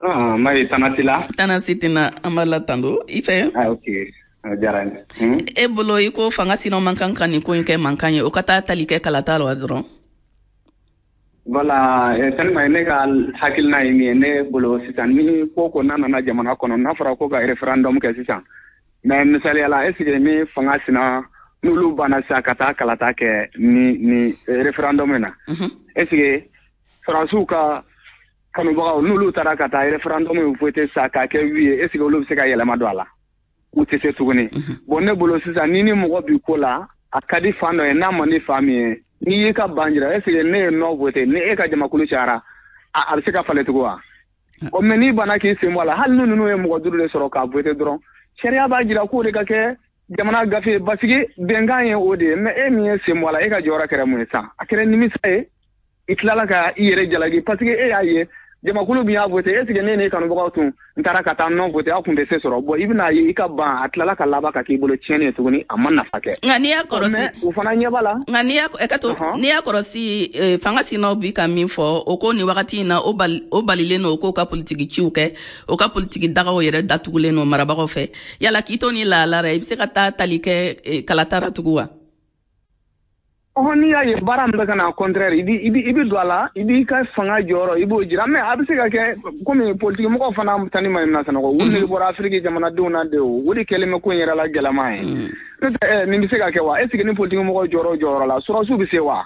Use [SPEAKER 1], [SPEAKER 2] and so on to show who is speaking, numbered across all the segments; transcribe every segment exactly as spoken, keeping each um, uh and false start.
[SPEAKER 1] Ah, Mayi, tana t'i la?
[SPEAKER 2] Tana si tɛna, an b'a la tando i fɛ.
[SPEAKER 1] Ah, ok, a diyara n ye. Hmm?
[SPEAKER 2] E bolo, i ko fanga sinaw man kan ka nin ko in kɛ mankan ye, o ka taa tali kɛ kalata la dɔrɔn.
[SPEAKER 1] Voilà, eh, Tani Mayi, ne ka hakilina ye min ye, ne bolo sisan, ni ko ko n'a nana jamana kɔnɔ, n'a fɔra ko ka référendum kɛ sisan, mais misaliya la, est ce que ni fanga sina n'olu banna sisan ka taa kalata kɛ ni ni référendum in na, est ce que faransiw ka kanubagaw, n'olu taara ka taa référendum in voter sisan k'a kɛ oui ye, est ce que olu bɛ se ka yɛlɛma don a la? U tɛ se tuguni. Bon, ne bolo sisan, ni ni mɔgɔ bi ko la, a ka di fan dɔ ye, n'a man di fan min ye, n'i y'i ka ban jira, est ce que ne ye non voté, ni e ka jamakulu cayara, a a bɛ se ka falen tugun wa? Ɔ, mais n'i banna k'i sen bɔ a la, hali ni ninnu ye mɔgɔ duuru de sɔrɔ k'a voté dɔrɔn, sariya b'a jira k'o de ka kɛ jamana gafe, parce que bɛnkan ye o de ye. Mais e min ye sen bɔ a la, e ka jɔyɔrɔ kɛra mun ye sisan? A kɛra nimisa ye, i tilala ka i yɛrɛ jalaki, parce que e y'a ye jamakulu min y'a voté, est ce que ne n'e kanubagaw tun n taara ka taa non voté, aw tun tɛ se sɔrɔ? Bon, i bɛna ye, i ka ban, a tilala ka laban ka k'i bolo tiɲɛni ye tuguni, a ma nafa kɛ.
[SPEAKER 2] Nka n'i y'a kɔlɔsi
[SPEAKER 1] Mais u fana ɲɛ b'a la.
[SPEAKER 2] Nka n'i y'a ɛ ka to, n'i y'a kɔlɔsi, eh, fanga sinaw bi ka min fɔ, o ko nin wagati in na, o bali o balilen don o k'o ka politiki ciw kɛ, o ka politiki dagaw yɛrɛ datugulen don marabagaw fɛ. Yala k'i to ni lahala rɛ, i bɛ se ka taa tali kɛ eh, kalata ra tugun wa?
[SPEAKER 1] Ɔhɔn, n'i y'a ye baara min bɛ ka na contraire, i bi i bi i bi don a la, i b'i ka fanga jɔyɔrɔ, i b'o jira. Mais a bɛ se ka kɛ komi politiki mɔgɔw fana, Tani ma na sanɔgɔ, u nege bɔra Afiriki jamanadenw na de, o o de kɛlen bɛ ko in yɛrɛ la gɛlɛman ye. N'o tɛ, ɛ nin bɛ se ka kɛ wa? Est ce que ni politiki mɔgɔw jɔyɔrɔ jɔyɔrɔ la, sɔrɔsiw bɛ se wa?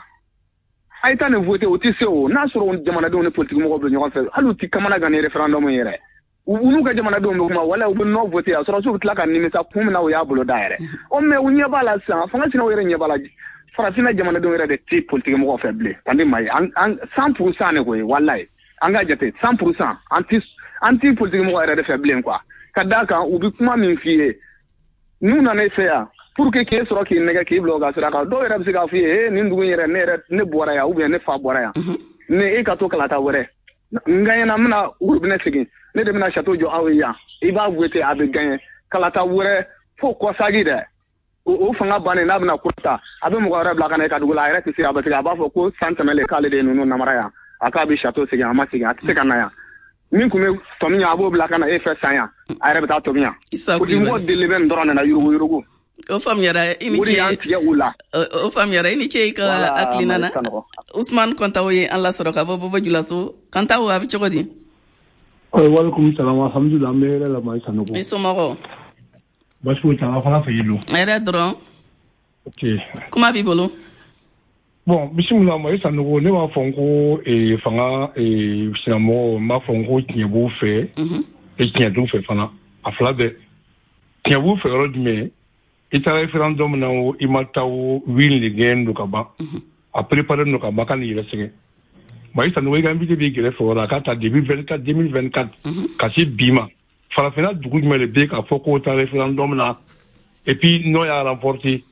[SPEAKER 1] A ye taa nin voté, o tɛ se. O n'a sɔrɔ jamanadenw ni politiki mɔgɔw bɛ ɲɔgɔn fɛ, hali u ti kamana gan ni référendum in yɛrɛ, u n'u ka jamanadenw bɛ kuma wala u bɛ non voté, a sɔrɔsiw bɛ tila ka nimisa kun min na u y'a bolo da yɛrɛ. Ɔ, mais u ɲɛ b'a la sisan, fanga sinaw yɛrɛ ɲɛ b'a la, farafinna jamanadenw yɛrɛ de tɛ politiki mɔgɔw fɛ bilen. Tandi ma ye, an an cent pour cent de koyi, walayi, an ka jate cent pour cent, an ti an ti politiki mɔgɔ yɛrɛ de fɛ bilen quoi. Ka d'a kan, u bɛ kuma min f'i ye n'u nana e fɛ yan pour que k'e sɔrɔ k'i nɛgɛ k'i bila u ka sira kan, dɔw yɛrɛ bɛ se k'a f'i ye: e nin dugu in yɛrɛ, ne yɛrɛ ne bɔra yan, ou bien ne fa bɔra yan, ni e ka to kalata wɛrɛ n gagnera, n bɛna robinet segin, ne de bɛna château jɔ aw ye yan. I b'a voté, a bɛ gagner kalata wɛrɛ fo kɔsagi dɛ, o fanga bannen, n'a bɛna ko ta, a bɛ mɔgɔ wɛrɛ bila ka na e ka dugu la, a yɛrɛ tɛ se a bɛ se a b'a fɔ ko san tɛmɛlen k'ale de ye ninnu namara yan, a k'a bɛ château segin, a ma segin, a tɛ se ka na yan. Min tun bɛ tɔmi yan, a b'o bila ka na e fɛ san yan, a yɛrɛ bɛ taa tɔmi yan. Politique deli bɛ nin dɔrɔn de na, yurugu yurugu.
[SPEAKER 2] O faamuyara, i ni
[SPEAKER 1] O de y'an
[SPEAKER 2] ce.
[SPEAKER 1] tigɛ u la.
[SPEAKER 2] O faamuyara, i ni ce i ka hakilina na. Usman Kɔntawo ye an lasɔrɔ ka bɔ Bobo Julaso. Kɔntawo, a bɛ cogo di?
[SPEAKER 3] Walekum salam, alhamdulilah, an bɛ hɛrɛ la, Mayi Sanogo.
[SPEAKER 2] I somɔgɔw?
[SPEAKER 3] Baasi foyi t'an fana fɛ yen don.
[SPEAKER 2] Hɛrɛ dɔrɔn.
[SPEAKER 3] Ok.
[SPEAKER 2] Kuma b'i bolo.
[SPEAKER 3] Bon, bisimila Mayi Sanogo, ne b'a fɔ n ko eh, fanga eh, sinamɔgɔw, n b'a fɔ n ko tiɲɛ b'u fɛ e tiɲɛ t'u fɛ fana, a fila bɛɛ. Tiɲɛ b'u fɛ yɔrɔ jumɛn? I taara référendum na o, i ma taa o, oui de gɛn don ka ban, a préparé don ka ban, ka n'i yɛrɛ sɛgɛn. Mayi Sanogo, i ka invité b'i kɛrɛfɛ o la, a k'a ta depuis vingt-quatre deux mille vingt-quatre ka se bi ma, farafinna dugu jumɛn de bɛ yen k'a fɔ k'o taara référendum na et puis non y'a remporté,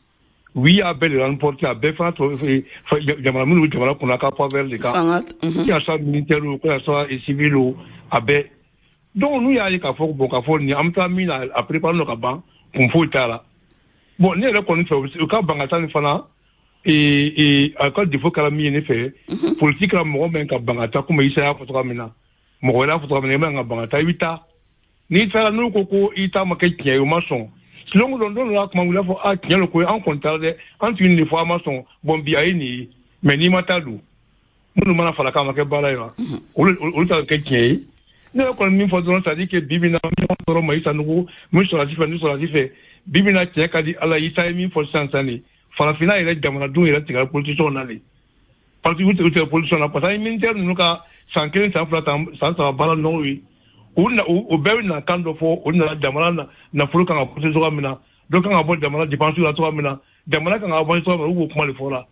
[SPEAKER 3] oui y'a bɛɛ de remporté, a bɛɛ fana tɔ jamana minnu bɛ jamana kunna ka faveur de kan, que ça soit militaire ou que ça soit civil o, a bɛɛ. Donc n'u y'a ye k'a fɔ bon, k'a fɔ nin an bɛ taa min na, a préparé don ka ban, kun foyi t'a la. Bon, ne yɛrɛ kɔni fɛ, u ka ban ka taa nin fana, a ka défaut kɛra min ye ne fɛ, politique la, mɔgɔ min ka ban ka taa, komi Isa y'a fɔ cogoya min na, mɔgɔ wɛrɛ y'a fɔ cogoya min na, i man ka ban ka taa. I bɛ taa, n'i taara, n'u ko ko i ta ma kɛ tiɲɛ ye, u ma sɔn, silon don don dɔ la, kuma wuli fɔ a tiɲɛ don ko an kɔni taara dɛ, an tun ye nin de fɔ, an ma sɔn. Bon, bi a ye nin ye, mais n'i ma taa dun, minnu mana fara k'a ma kɛ baara ye wa, olu olu ta kɛ tiɲɛ ye. Ne yɛrɛ kɔni min fɔ dɔrɔn, c'est à dire que bi bi in na, ɲɔgɔn sɔrɔ Mayi Sanogo min sɔrɔsi fɛ ni sɔrɔsi fɛ, bi bi in na, tiɲɛ ka di Ala ye, Isa ye min fɔ sisan sisan de, farafinna yɛrɛ jamanadenw yɛrɛ tigɛra politicienw na de, parce que u tigɛ politicien na, parce que militaire ninnu ka san kelen, san fila, san saba baara nɔgɔ ye, u na u bɛɛ bɛ na kan dɔ fɔ, u nana jamana nafolo kan ka pousser cogoya min na, dɔ kan ka bɔ jamana dépense la cogoya min na, jamana kan ka avancer cogoya min na, u b'o kuma de fɔ la.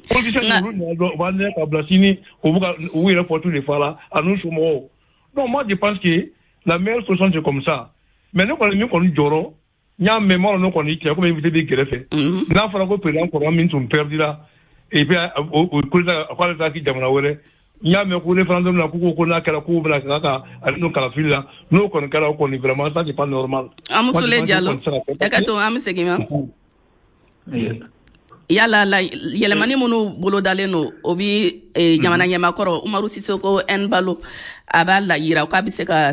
[SPEAKER 3] Politicien ninnu nana dɔn, u b'a nɛgɛ ka bila sini, u bɛ ka u yɛrɛ fɔ tu de fɔ la a n'u somɔgɔw. Donc moi, je pense que la meilleure solution, c'est comme ça. Mais ne kɔni min kɔni jɔrɔ, n y'a mɛn, m'a dɔn ne kɔni tiɲɛ, komi invité b'i kɛrɛfɛ, n'a fɔra ko président kɔrɔ min tun perdira et puis o coup d'état k'ale taa k'i jamana wɛrɛ, n y'a mɛn ko référendum la, k'u ko ko n'a kɛra k'u bɛna ka ka ale n'o kalafili la, n'o kɔni kɛra, o kɔni vraiment, ça, c'est pas normal.
[SPEAKER 2] Amusule Diallo, ɛ ka to, an bɛ segin ma. Yala la yɛlɛmani minnu bolodalen don, o bi jamana ɲɛmakɔrɔ Umaru Sisoko Ɛnbalo, a b'a la yira k'a bɛ se ka